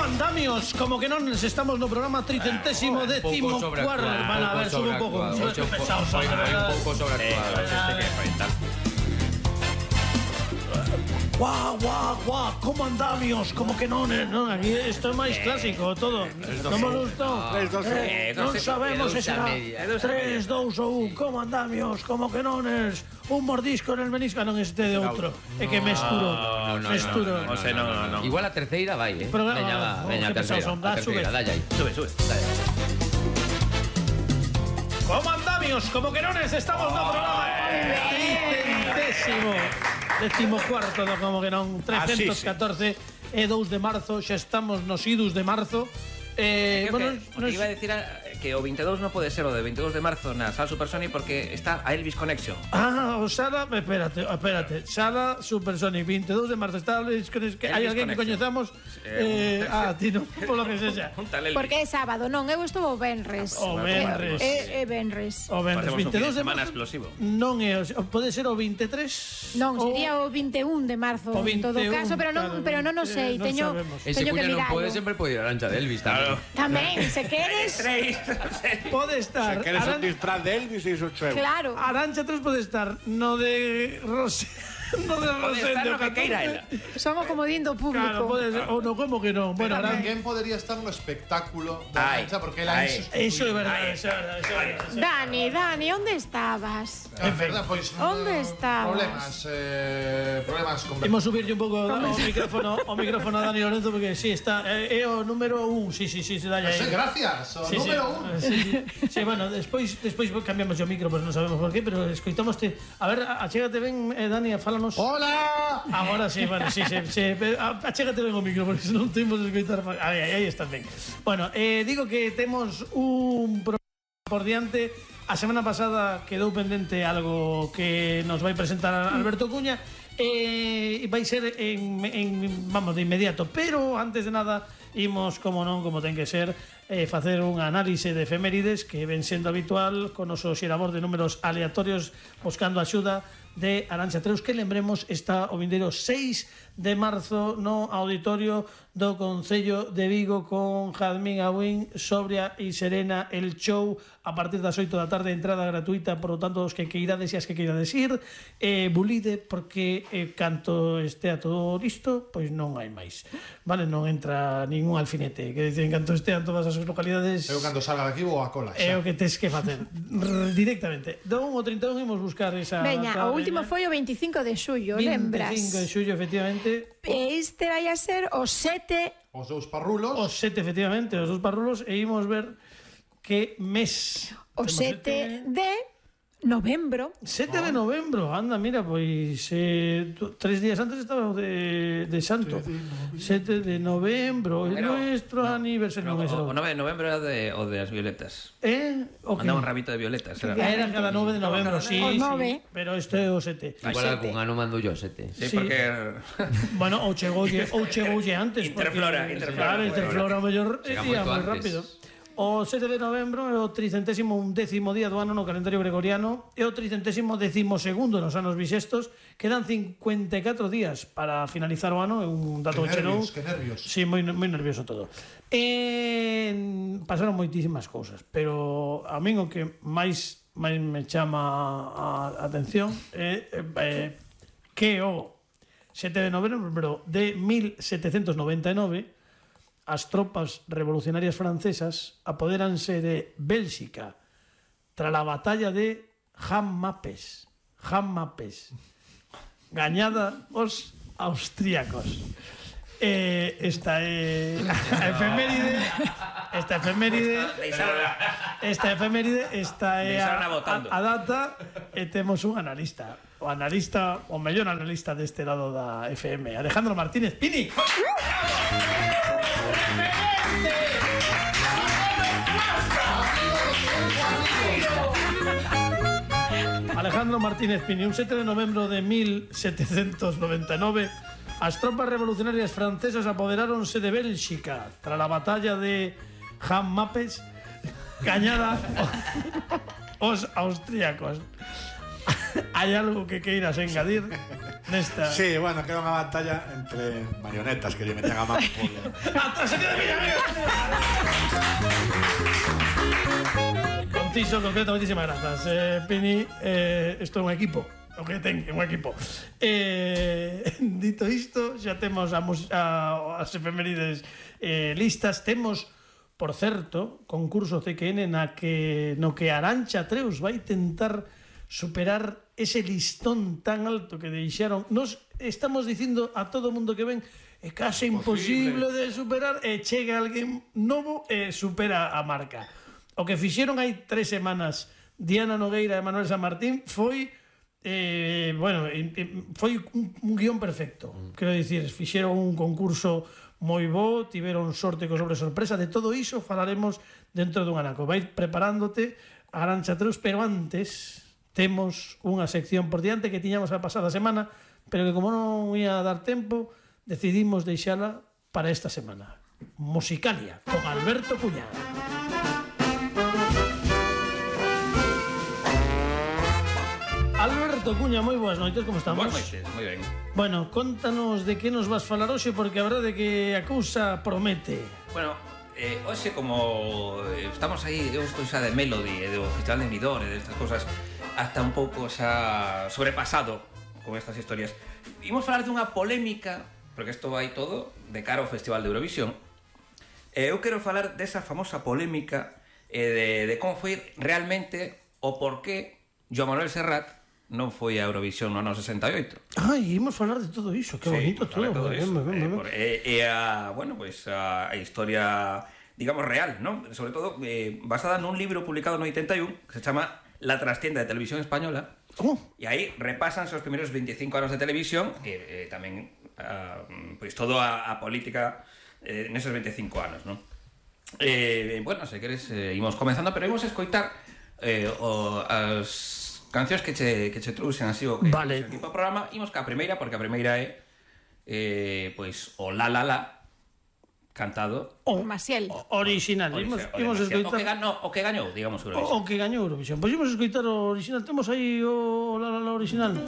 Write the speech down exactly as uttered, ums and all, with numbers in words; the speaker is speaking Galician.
andamios? Como que non estamos no programa tricentésimo décimo cuarto. Van a ver, sube un pouco. Un pouco sobreactuado. Este que enfrentar. Guau, guau, guau, como andamios, como que non, non, aquí isto é máis clásico, todo. Non me gustou. Non sabemos se será tres, dous ou un, como andamios, como que non es un mordisco en el menisco, non este de outro. É que mesturo, mesturo. Igual a terceira vai, eh. Veña, veña, a terceira, a terceira, dalle aí. Sube, sube, dalle aí. Como andamios, como que non es, estamos no programa tricentésimo décimo cuarto do como que non, trescentos catorce e dous de marzo, xa estamos nos idus de marzo. Eh, bueno, que, no es... iba a decir a, que o veintidós non pode ser o de veintidós de marzo na Sala Supersonic porque está a Elvis Connection. Ah, o Sala, espérate, espérate. Sala Supersonic, veintidós de marzo está Elvis Connection. Hai alguén que coñezamos? Eh, eh, ah, ti non, polo que sexa. Porque é sábado, non, eu estou o venres. O venres. É, é venres. O venres, veintidós de marzo. Explosivo. Non é, pode ser o veintitrés? Non, sería o veinti un de marzo en todo caso, pero non, pero non o sei, teño teño que mirarlo. Non pode sempre pode ir a Arancha de Elvis tamén. Tamén, se queres. Pode estar. Se queres un disfraz de Elvis e iso cheo. Claro. Arancha tres pode estar no de Rosé. No de Rosé, no que queira ela. Son o comodín do público. Claro, pode ser, ou no, como que non. Bueno, alguén podería estar no espectáculo de Arancha porque ela é Eso é verdade, eso é verdade. Dani, Dani, onde estabas? É verdade, pois onde estabas? Problemas, eh, problemas con. Imos subirlle un pouco o micrófono, o micrófono a Dani Lorenzo porque si está é o número un, si, si, si, se dai aí. Gracias, o número un. Si, bueno, despois despois cambiamos o micro, pois non sabemos por qué, pero escoitamoste. A ver, achégate ben, Dani, fálanos. Hola. Agora sí, bueno, sí, sí, sí. Achégate ben o micro porque non temos escoitar. Aí, aí estás ben. Bueno, eh, digo que temos un programa por diante. A semana pasada quedou pendente algo que nos vai presentar Alberto Cuña e eh, vai ser en, en, vamos, de inmediato, pero antes de nada imos, como non, como ten que ser, eh, facer un análise de efemérides que ven sendo habitual con o xerador de números aleatorios buscando axuda de Arancha Treus, que lembremos está o vindeiro seis de marzo no auditorio do Concello de Vigo con Jazmín Agüín, Sobria e Serena, el show a partir das oito da tarde, entrada gratuita, por lo tanto os que queirades e as que queirades ir, eh, bulide porque eh, canto estea todo listo, pois non hai máis, vale, non entra ningún alfinete, que dicen canto estean todas as localidades. Eu cando salga daqui vou a cola. É o que tes que facer directamente. Do un ao trinta e un imos buscar esa. Veña, o último foi o veinticinco de xullo, lembras? veinticinco de xullo, efectivamente. Este vai a ser o sete. Os dous parrulos. Os sete, efectivamente, os dous parrulos. E imos ver que mes. O sete de novembro. sete de novembro, anda, mira, pois eh, tres días antes estaba o de, de Santo. sete de novembro, é nuestro aniversario. No, o, o nove de novembro era de, o de as violetas. Eh? Okay. Andaba un rabito de violetas. Era, era cada nove de novembro, sí, o nove. Sí, pero este é o sete. Igual algún ano mando yo sete. Sí, sí, porque... Bueno, ou chegoulle, ou chegoulle antes. Interflora, porque, interflora. Claro, interflora, o mellor día moi rápido. O sete de novembro é o tricentésimo undécimo día do ano no calendario gregoriano e o tricentésimo décimo segundo nos anos bisestos. Quedan cincuenta e catro días para finalizar o ano, é un dato que cheno. nervios, que nervios. Sí, moi, moi nervioso todo. E pasaron moitísimas cousas, pero a min o que máis máis me chama a atención é eh, que o sete de novembro de mil setecentos noventa e nove as tropas revolucionarias francesas apoderanse de Bélxica tras a batalla de Jammapes, Jammapes, gañada os austríacos. Eh, esta é a efeméride, esta efeméride, esta efeméride, esta é a, a, a data e temos un analista, o analista, o mellor analista deste lado da F M, Alejandro Martínez Pini. Alejandro Martínez Pini, un sete de novembro de mil setecentos noventa e nove, as tropas revolucionarias francesas apoderáronse de Bélxica tras a batalla de Jammapes, gañada os austríacos. Hai algo que queiras engadir? nesta. Sí, bueno, queda unha batalla entre marionetas que lle meten a mano polo. ¡Ata se queda mira, mira! Contiso, concreto, moitísimas grazas. Eh, Pini, eh, isto é un equipo. O que ten, é un equipo. Eh, dito isto, xa temos a, a, as efemérides eh, listas. Temos, por certo, concurso C Q N na que, no que Arantxa Treus vai tentar superar ese listón tan alto que deixaron. Nos estamos dicindo a todo o mundo que ven é case imposible de superar e chega alguén novo e supera a marca. O que fixeron hai tres semanas Diana Nogueira e Manuel San Martín foi eh, bueno, foi un, un guión perfecto. Quero dicir, fixeron un concurso moi bo, tiveron sorte co sobre sorpresa. De todo iso falaremos dentro dun anaco. Vai preparándote a Arantxa Treus, pero antes temos unha sección por diante que tiñamos a pasada semana, pero que como non ia dar tempo, decidimos deixala para esta semana. Musicalia, con Alberto Cuñá. Alberto Cuña, moi boas noites, como estamos? Boas noites, moi ben. Bueno, contanos de que nos vas falar hoxe, porque a verdade é que a cousa promete. Bueno, eh, hoxe como estamos aí, eu estou xa de Melody e do Festival de Midor e destas cosas, hasta un pouco xa sobrepasado con estas historias. Imos falar dunha polémica, porque isto vai todo de cara ao Festival de Eurovisión. Eh, eu quero falar desa famosa polémica eh, de, de como foi realmente o porqué Joan Manuel Serrat non foi a Eurovisión no ano sesenta e oito. Ai, imos falar de todo iso, que sí, bonito todo. todo ben, ben, ben, ben. E eh, eh, a, bueno, pues, a, a historia, digamos, real, ¿no? Sobre todo eh, basada nun libro publicado no oitenta e un que se chama La trastienda de Televisión Española. ¿Cómo? E aí repasan os primeros veinticinco anos de televisión e eh, tamén a, pues, todo a, a política eh, neses veinticinco anos, ¿no? Eh, bueno, se queres, eh, imos comenzando, pero imos a escoitar eh, o, as cancións que che, que che trouxen así o que vale. O tipo de programa. Imos ca primeira, porque a primeira é eh, pois o La La La cantado o Maciel original. Imos, imos escoitar o que gañou, o que gañou, digamos, Eurovisión. O que gañou Eurovisión. Pois imos escoitar o original. Temos aí o La La La original.